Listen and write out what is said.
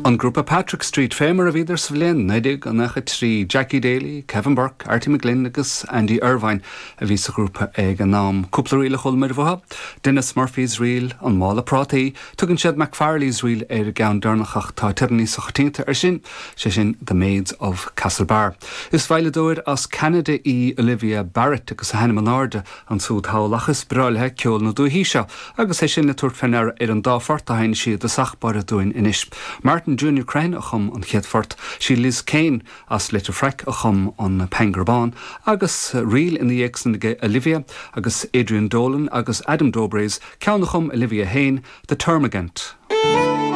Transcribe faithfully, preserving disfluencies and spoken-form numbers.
An grúpa Patrick Street fé mar a bhíodar sa bhliain naoi déag nócha trí Jackie Daly, Kevin Burke, Artie McGlynn agus Andy Irvine a bhí sa ghrúpa ag an am cúpla ríl a chuala muid uathu, Denis Murphy's Reel an Mála Prátaí, tugann siad McFarley's Reel ar an gceann deireanach ach tá teideal níos coitianta air sin, sé sin The Maids of Castlebar. Is veidhleadóir as Canada í Olivia Barrett agus a hainm in airde ansúd thall ach is breá léi ceol na dúichí seo, agus é sin le tabhairt faoi deara ar an dá phort a sheinn sí i dtosach báire dúinn anois. Martin Junior Crehan a chum an chéad phort sí Liz Kane as Leitir Fraic a chum an Pangur Bán, agus ríl ina dhiaidh sin ag Olivia agus Adrian Dolan agus Adam Dobres ceann a chum Olivia féin, The Termagant.